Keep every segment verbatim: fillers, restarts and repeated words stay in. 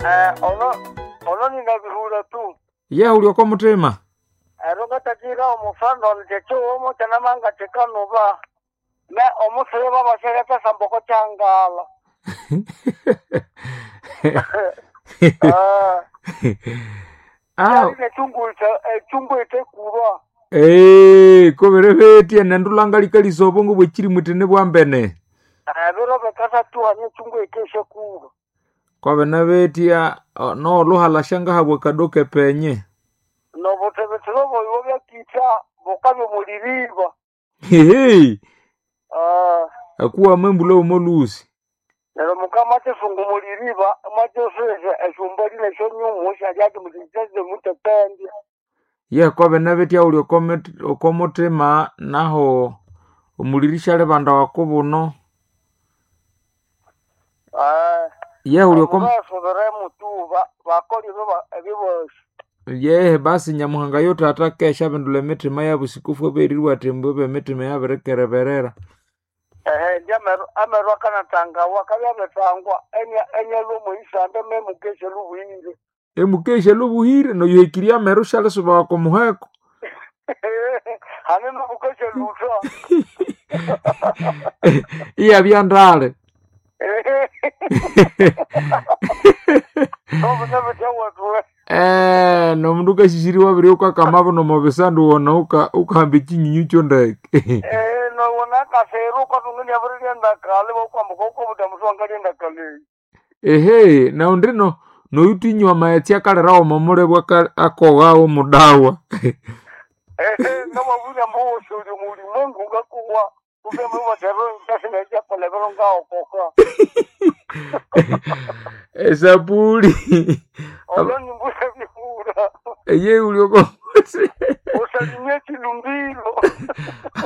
Eh, ono ono ninabihura tu. Ye ulioko mutima. Ero ngatakira omufando njecho chanamanga chikanuba. Me omusire babashereka samboko changala. Ah, Ah, nechungu echungu ite kuba. eh, koberebetie nendulanga likalisa obongo bwekiri mutene bwambene. Ebiro bekasatuha nechungu ikeshe kuba. Kwabena betia no luhala shangahabwe kadoke penye. Nobutebetero boibo byakitha bukabya muliriba. Hehe. Ah, Akuwa membula omolusi. neryo mukama achisunga muliriba mwachosese eshumba lina eshonyumu shalyati mutisese mutetende. Ye kwabena betia uli okomutima naho omulirisha libanda wakubuno. Ah, Ye uli okom mubasubire mutu bakoli ebibosi. Yehe basi nyamuhanga yo tata kesha bindula emitima yabusikufu eberirwa atembo b'emitima yabirikereberera. Ehe ndi ameru ameru akanatangawa akabya abetangwa enya enyalwa omuisande memukeshe lubuhire. Emukesha lubuhire noyuhekiria ameru shalisuba wakomuheko. Hane nomukeshe lutwa. Iyabya ndale. Obunabutya wetwe. Eh, nomundu ukashishiri wabiri ukakamabo nomobisandu wona uka ukahamba echinyinyu kyondeke. Eh, nowona akasero ukatunga nyabirirenda kale bokwambuka ukobuta mutu wangalyenda kale. Ehe, naundi no noyutinywa maetsi akalerawo momulebwa akoghawo mudawa. Ehe, namabuya mboso uli mulimwengu ngakuwa kubemubatero ntasingajakolebero ngaokoka. Esapuli. Olwo nimbuya bihura. Eye ulioko Usalimie chilumbilo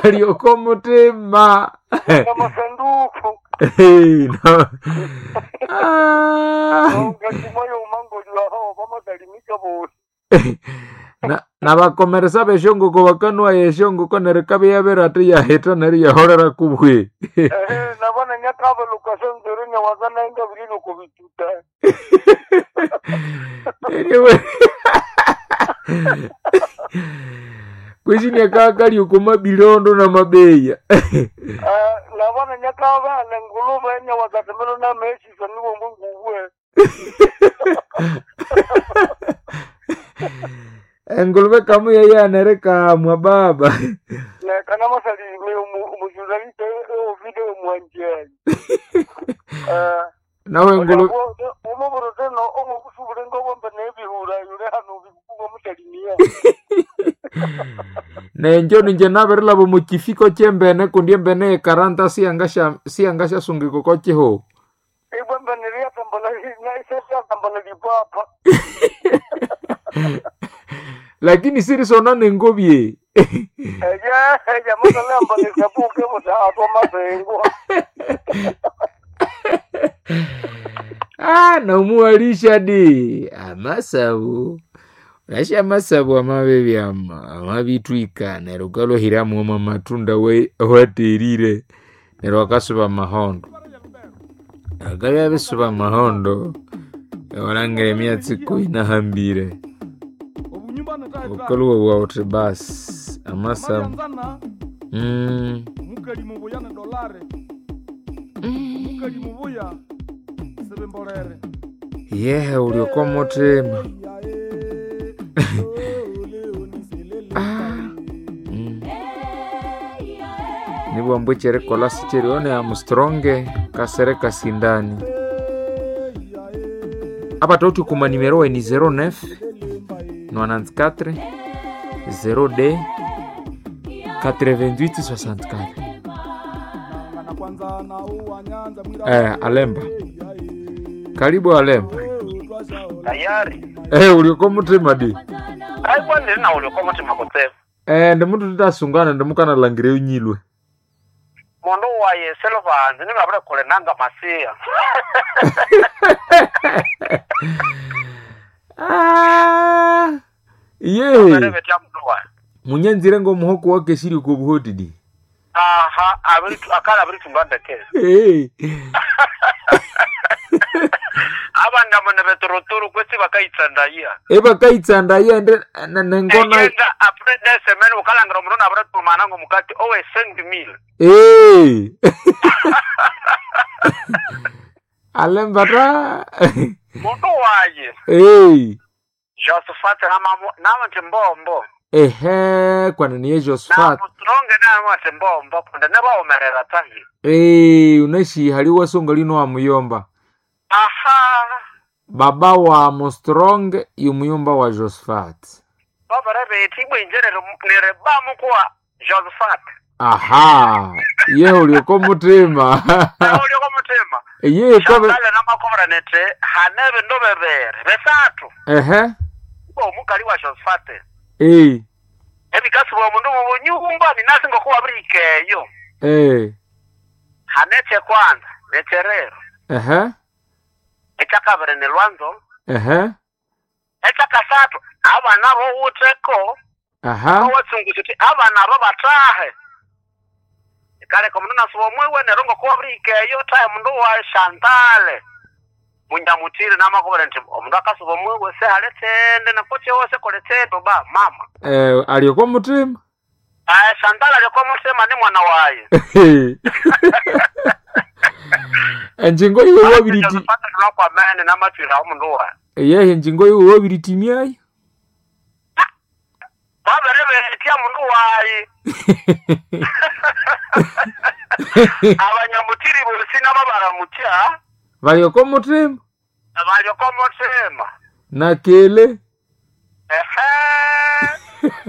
alioko mutima. na masanduku. Hey, no. Ah. Ungachimoyo umangoli waho vamasalimika bosi. Na nabakomeresa beshongoko bakanwa yeshongoko neryo kabe yabere ati yaheta neryo yaholera kubwe. Ehe, nabona nyakava lukasenzere nyawazana inga vililo kubituta. Anyway. Kwishini akakali uko mabilondo na mabeya. Eh, nabona nyakava nenguluve nyawazatemelo na meshiso niwo munguwe. Engulube kamu yayanereka mwa baba. Nekana masalime umujuzalite ovide mwanjani. Eh, Nawe engulube umuburuteno umukusubule ngobombe nebihura yule hano bikuwa musalimia. nenjo ninje nabirilaba mukifiko kyembene kundi embene yekaranta siyangasha siyangasha-sungika oko kiho. Ibwembe niliyatambala naisesiyatambala lipapa. Lakini sirisona nengobye. Eya, eya masalamba nisabuke butatwa masengo. Ah, naumuwalisha di amasabu unasha amasabu amabebi ama amabitwika neryo ukalohiramu ama matunda we- waterire neryo akasuba mahondo akabya bisuba mahondo walangira emyatsi inahambire ukaluwa bwawuthi basi amasabu mm. Mukali mubuya ne dolare mukali mubuya sebembolere. Yehe ulioko mutima. Ah. Mm. Nibwambu kyerikola sikyerione amstronge kasere kasindani apa toti kuma nimero weni zero nine nonante-quatre zero D quatre-vingt-huit soixante-quatre. Eh, Alemba. Karibu Alemba. Tayari. Eh, ulioko mutima di. Ai kwani na uliko mutima kutsevu. Eh, ndimutu titasungana ndimukanalangira unyilwe. Mundu waye selovanzi ningabule kule nanga masiya. Ah. Ye. Berebetya mundu waye. Munyanzire ngomuhoko wake shiri kubuhotidi. Aha, abiri akala abiri tumbandeke. Hey. Aba bandamo ne betorotoro kwesi bakayitsandaya Ebakaitsandaya ende nengona eyenda apre desemene ukalangira omundu nabiritumana ngomukati owe cinq mille Eh. Alembata. Mundu waye Eh. Josephat namanti mbombo. Ehe, kwana niye Josephat. Namustronge namanti mbombo kundi nebawumerera tahi. Eh, unashi haliwa songa lino wa muyomba. Aha. Baba wa Mustrong yumuyomba wa Josephat. Babere bethi ibwinje neribamu kuwa Josephat. Aha, ye ulioko mutima. Ulioko mutima. Ye kobe. Shantale namakobora nete hane bindu bibiri bisathu. Ehe. Omukali wa Josephat. Eh. Ebikasi bwa mundu mubunyumba ninasi ngokuwa wabirikeyo. Eh. Hanetse kwanza necherero. Ehe. Ekyakabiri ni lwanzo. Ehe. Ekyakasathu abana bowutheko. Aha. Owatsungusa uthi abana abo bathahe. Kaleka omundu nasuba omwiwe neryo ngokuwa wabirikeyo thahe mundu wa Shantale. Munyamutiri namakobora nti omundu akasuba omwiwe sehali tsindi nakokyewose kole tsindi ba mama. Eh, alioko mutima. Ah, Shantale alioko mutima ni mwana waye. Enjingo iwe wabiriti. Nakwamene namathwira omundu waye. Yehe enjingo iwe wabiritimyayo. Babere betya mundu waye. Abanyamutiri bosi nabo baramutya. Balioko mutima. Balioko mutima. Na kele. Ehe.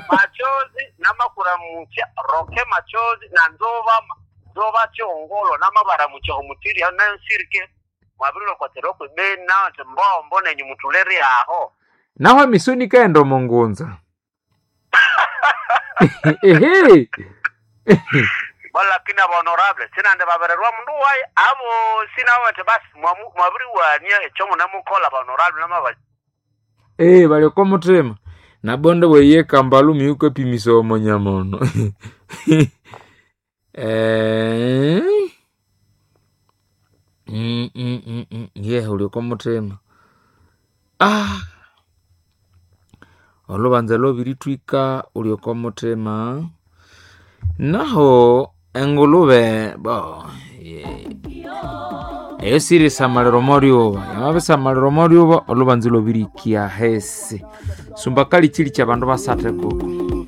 Machozi namakuramutya roke machozi na nzova nzova chongolo namabaramutya omutiri nansirike mwabirilo kwibeni nati mbombo nenyu mutuleri aho. Naho emisoni kaenda omungunza. Ehe. Bo lakini aba honorable sinande babererwa mundu waye abo sinabo bati basi mwabiriwania ekyo munemukola ba honorable namaba. Eh, balioko mutima. Nabonde bweye kambalu miuko epimisa omonyamono. Eh. Mm, mm, mm, mm. Ye ulioko mutima. Ah. Olubanza lwabiritwika ulioko mutima. Naho engulube bo eyo sirisamaliro moryuba yamabisamaliro moryuba olubanza lwabirikia hesi sumba kali chili cha bandu basate koko.